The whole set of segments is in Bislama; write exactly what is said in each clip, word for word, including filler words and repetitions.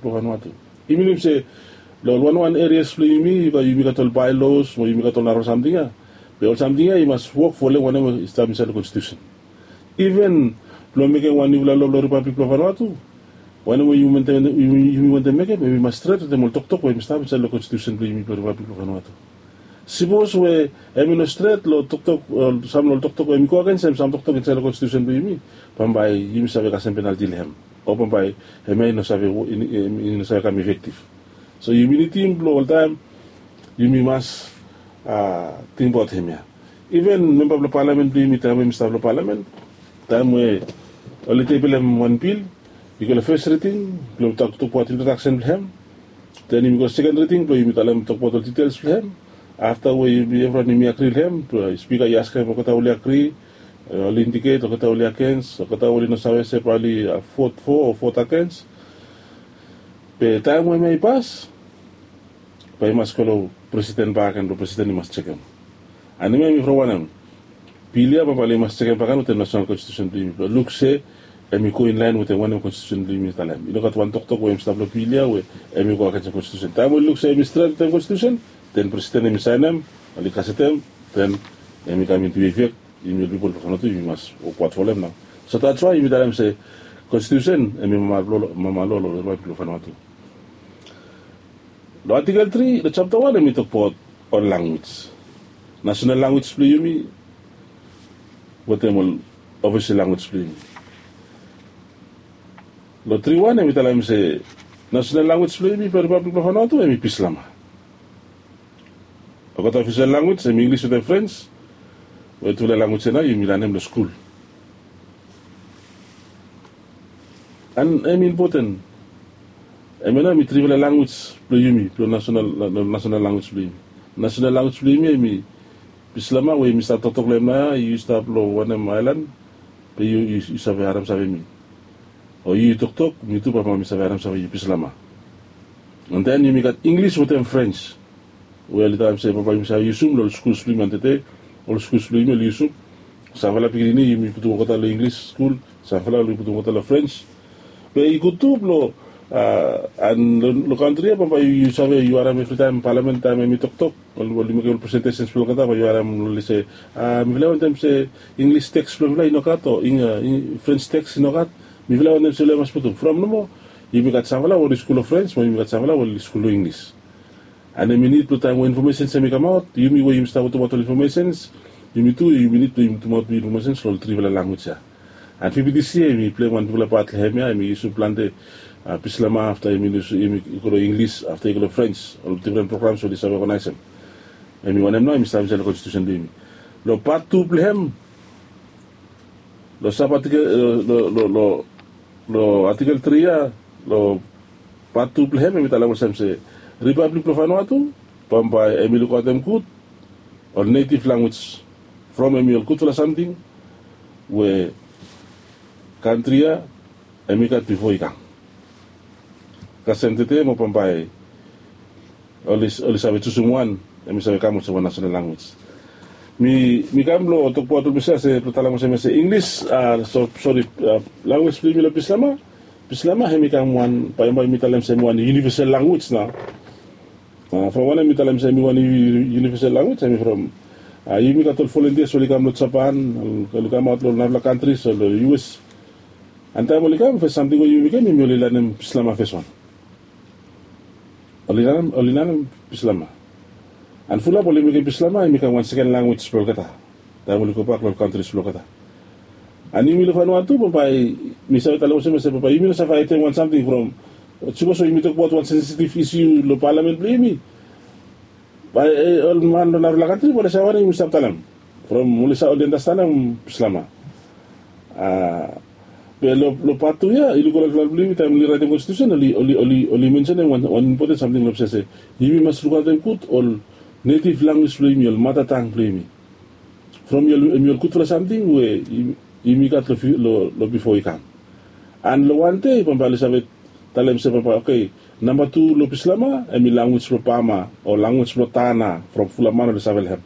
Blong Vanuatu. I minim se long ol wanwan erias blong yumi, yumi gat ol baelos mo yumi gat ol narafala samting ya. Be ol samting ya i mas wok folem wanem we i stap insait long konstitusen. Iven blong mekem wan niufala loa blong ripablik blong Vanuatu, wanem we yumi wantem mekem, hemi mas stret wetem ol toktok we hemi stap insait long konstitusen blong yumi blong ripablik blong Vanuatu. Sipos we hemi no stret long toktok, sam long ol toktok we hemi go agensem sam toktok insait long konstitusen blong yumi, bambae yumi save kasem penalti long hem. O bambae hemia i no save, i no save kam efektif. So yumi nidim blong oltaem yumi mas tingbaot hemia. Iven memba blong palamen blong yumi taem we yumi stap long palamen, taem we oli tebilem wan bil, i go long fes riding blong tokbaot introdaksen blong hem. Den yumi go seken riding blong yumi talem tokbaot ol ditels blong hem. Afta we yumi evriwan yumi agri long hem, spika i askem olgeta oli agri, oli indiket olgeta oli agens, olgeta oli no save se bae oli vot fo o vot agens. Be taem we hemia i pas, bae i mas go long presiden bakegen blong presiden i mas jekem. Ani hemia hemi from wanem? Bil ya bambae oli mas jekem bakegen wetem nasonal konstitusen blong yumi blong luk se hemi go inlaen wetem wanem konstitusen blong yumi i talem. I no gat wan toktok we hemi stap long bil ya we hemi go agensem konstitusen. Taem we oli luk se hemi stret wetem konstitusen, den presiden hemi saenem, oli gasetem, den hemi kam intu efek. Yumi ol pipol blong Vanuatu yumi mas wokbaot folem nao. So that's why yumi talem se konstitusen hemi mama loa long ripablik blong Vanuatu. Long atikel tri long japta wan hemi tokbaot ol lanwis, nasonal lanwis blong yumi wetem ol ofisel lanwis blong yumi. Long tri wan hemi talem se nasonal lanwis blong yumi blong ripablik blong Vanuatu hemi Bislama. Olgeta ofisel lanwis hemi Inglis wetem Frens, we tufala lanwis ya nao yumi lanem long skul. An hemi impoten. Hemia nao hemi trifala lanwis blong yumi, blong nasonal lanwis blong yumi. Nasonal lanwis blong yumi hemi Bislama we yumi stap toktok long hem nao ya, yu stap long wanem aelan, be yu save harem save mi. O yu toktok, mi tu bambae mi save harem save yu Bislama. An den yumi gat Inglis wetem Frens we oli talem se bambae yumi save yusum long ol skuls blong yumi antede. Ol skuls blong yumi oli yusum. Samfala pikinini yumi putum olgeta long Inglis skul, samfala oli putum olgeta long Frens. Be i gud tu blong an long kantri ya bambae yu save yu harem evritaem palamen taem hemi toktok, oli mekem ol presentesens blong olgeta bae yu harem oli se, mifala i wantem se Inglis teks blong mifala i nogat o Frens teks i nogat. Mifala i wantem se oli mas putum from nomo. Yumi gat samfala we oli skul long Frens mo yumi gat samfala we oli skul long Inglis. An hemi nid blong taem we infomesens hemi kamaot, yumi we yumi stap putumaot ol infomesens, yumi tu yumi nid blong yumi putumaot infomesens long ol trifala lanwis ya. An fifti isi hemi pleim wan bigfala pat long hemia, hemi yusum plante Bislama afta hemi yusum, hemi go long Inglis afta i go long Frens, ol difren programs we oli save oganaesem. Hemi wanem nao hemi stap insait long konstitusen blong yumi. Long pat tu blong hem, long sab atikel, long atikel tri ya, long pat tu blong hem hemi talem olsem se ripablik blong Vanuatu bambae hemi lukaotem gud ol netiv lanwis from hemi ol gudfala samting we kantri ya hemi gat bifo i kam. Kasem tede mo bambae oli save jusum wan hemi save kam olsem wan nasonal lanwis. Mi kam blong tokbaot olsem ya se blong talem olsem ya se Inglis, sori, lanwis blong yumi long Bislama. Bislama hemi kam wan, bae yumi talem se hemi wan iunivesal lanwis nao. From wanem mi talem se hemi wan iunivesal lanwis? Hemi from yumi gat ol volontias we oli kam long Japan, oli kamaot long ol narafala kantris o long U S. An taem oli kam fes samting we yumi mekem hemi oli lanem Bislama fes wan. Oli lanem, oli lanem Bislama. An fulap oli mekem Bislama hemi kam wan seken lanwis blong olgeta taem oli gobak long ol kantris blong olgeta. An yumi long Vanuatu bambae mi save talem olsem ya se bambae yumi no save aetem wan samting from, sipos we yumi tokbaot wan sensitiv isiu long palamen blong yumi, bae ol man long narafala kantri bae oli save wanem yumi stap talem. From oli andastanem Bislama. Be long pat tu ya i luk ol laeflaef blong yumi taem oli raetem konstitusen, oli mensenem wan impoten samting long olsem se yumi mas lukaotem gud ol netiv lanwis blong yumi, ol matatang blong yumi. From hemi ol gudfala samting we yumi gat long bifo i kam. An long wan dei bambae oli save talem se bambae, oke, namba tu long Bislama hemi lanwis blong Bama o lanwis blong Tana, from fulap man oli save long hem.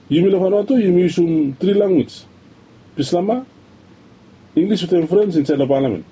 Yumi long Vanuatu yumi yusum tri lanwis, Bislama, Inglis wetem Frens insaed long palamen.